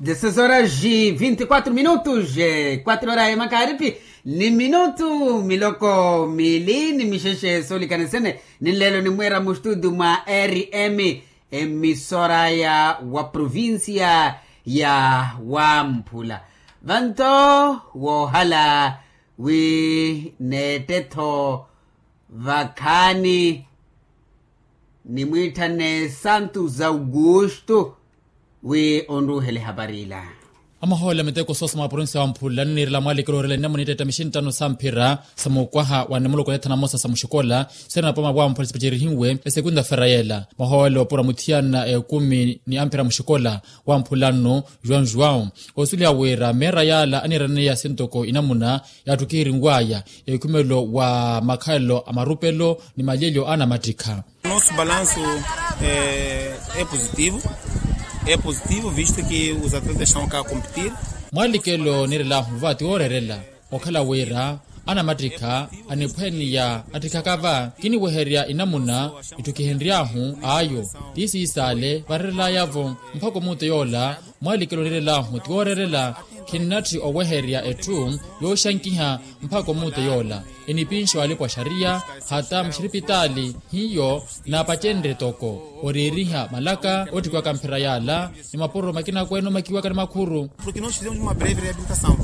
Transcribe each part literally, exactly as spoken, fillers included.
Dezesseis horas e vinte e quatro minutos. Quatro horas ya makaripi ni minutu miloko mili ni mixexe soolikana sene. Ni nlelo nimweera mustutu mwa rm emisora ya wa provincia ya wamphula. Vanto woohala wi neettetho vakhaani nimwiitthane santos augusto wi onruuhele ehapari ila. Amahoola miteko soosa mwa provincia wamphula nniirela mwaalekelo orela nnamuna itteetta mixinttano samphira sa mukwaha wa nimuloko neethana mosa sa muxikola sirina poma wamphula sipacerihiwe esekunda fera yeela. Mahoola opura muthiyana ekumi ni amphira muxikola wamphula nno juan juan osuliha wira meera yaala aniiraneya sintoko inamuna yaattukihirinwaya ekhumelo wa makhalelo a marupelo ni malyelyo a anamattikha. Nosso balanço é positivo. É positivo visto que os atletas estão cá a competir. Mwaalikelo niirelaahu va ti wooreerela okhala wira anamattikha aniphwaniya attikhaka va kiniweherya inamuna itthukihenry'ahu ayo ti siisaale vareerel'aya-vo mpakha omuuto yoola. Mwaalikelo niirelaahu ti wooreerela khinnatthi oweherya etthu yooxankiha mpakha omuuto yoola enipinxi walipa wa xariya hata muxiripitaali hiyo naapacenrye toko oriiriha malaka oottikiwaka mphira yaala ni mapuro makina kweene omakiwaka ni makhuru. Porque nós fizemos uma breve reabilitação.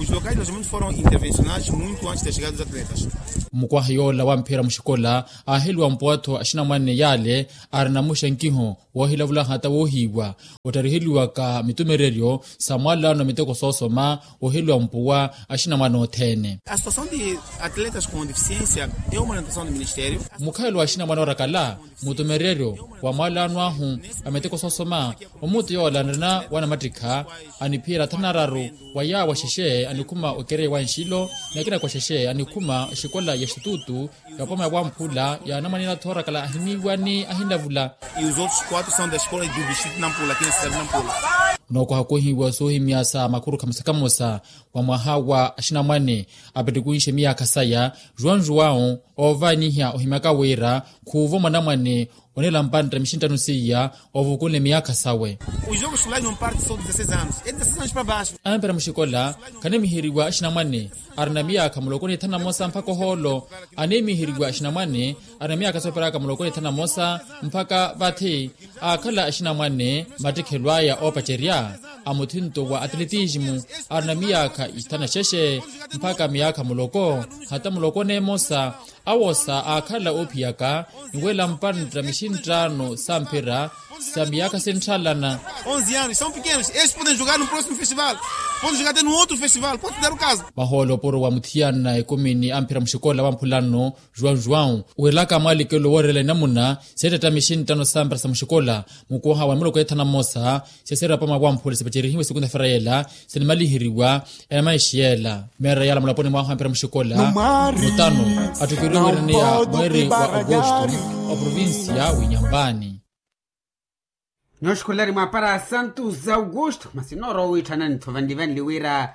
Os locais de alojamento foram intervencionados muito antes da chegada dos atletas. Mukwaha yoola wa mphira muxikola aaheliwa mpuwa-tho axinamwane yaale arina muxankiho woohilavula hata woohiiwa ottariheliwaka mitumereryo sa mwaalano miteko soosoma oheliwa mpuwa axinamwane othene. A situação de atletas com deficiência é uma orientação do ministério. Mukhalelo wa axinamwane orakala mutumereryo wa mwaalano ahu a miteko soosoma omuuto yoola anrina wanamattikha aniphiyela thana araru wa yaawo axexe anikhuma okereya wa nxilo ni akina kwa xexe anikhuma oxikola ya xitutu ya poma ya wamphula ya anamwane ela thoorakala ahiniiwa ni ahinlavula. E os outros quatro são da escola do distrito nampula aqui na cidade nampula. Nookwaha koohiwa soohimya sa makhuru khamosa khamosa wa mwaha wa axinamwane apettikunxe miyaakha saya juan juan oovaniha ohimyaka wira khuuvo mwanamwane oneela mpantta mixinttano seiya ovukunle miyaakha sawe. Os jogos escolares não parte só de dezesseis anos é dezesseis anos para baixo. Ampira muxikola khanimiheriwa axinamwane arina miyaakha muloko ni thanu na mosa mpakha ohoolo. Animiheriwa axinamwane arina miyaakha sooperaka muloko ni thanu na mosa mpakha vathi aakhala axinamwane mattikhelo aya oopacerya a muthinto wa atletismo arina miyaakha ithanu na xexe mpakha miyaakha muloko hata muloko n'emosa. Awosa aakhala oophiyaka niwela mpantta mixinttaano sa mphira sa miyaakha sintthaalana. Onze anos são pequenos estes podem jogar no próximo festival, podem jogar até no outro festival pode dar o caso. Mahoolo opuro wa muthiyana ekumi ni amphira muxikola wa mphulano juan juan owerelaka mwaalikelo wooreela inamuna seettetta mixinttano sa mphira sa muxikola mukooha wa nimuloko ethanu na mmosa. Sesera pamwa wamphule sipacerihiwe sikuntha fera yeela sinimaliheriwa enamaishi yeela meera yaala mulaponi mwahu ampira muxikola mutano attukeriwe wiraneya mweeri wa okosto wa provincia w'inyambani. Nyooxikhulela ni mwaapara santos augusto masi noorowa owiitthanani-tho vanli vanli wira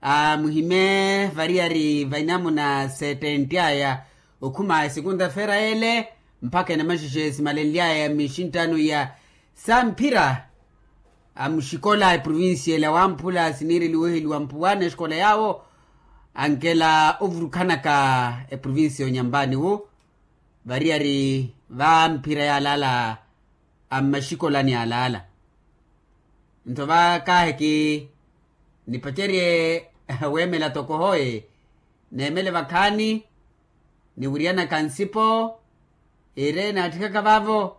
amuhime variyari va inamuna settenti aya okhuma esikunta fera yeele mpakha enamaxexe simalenly'aya mixinttano iya sa mphira a muxikola eprovincia ela wamphula siniireliwa oheliwa mpuwana exikola yaawo ankela ovurukhanaka eprovincia onyambani wu variyari va mphira yaalaala a mmaxikolani yaalaala. Nto vakaaheki nipacerye weemela toko hoye neemele vakhaani niwiriyanaka nsipo ire naatthikaka vaavo.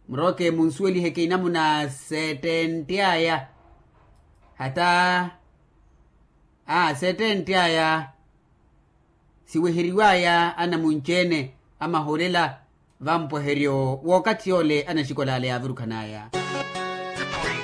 Murooke munsuweliheke inamuna settenti aya hata a settenti aya siweheriwaya anamunci-ene amahoolela vampweheryo w'okathi yoole anaxikola ale yaavurukhanaya.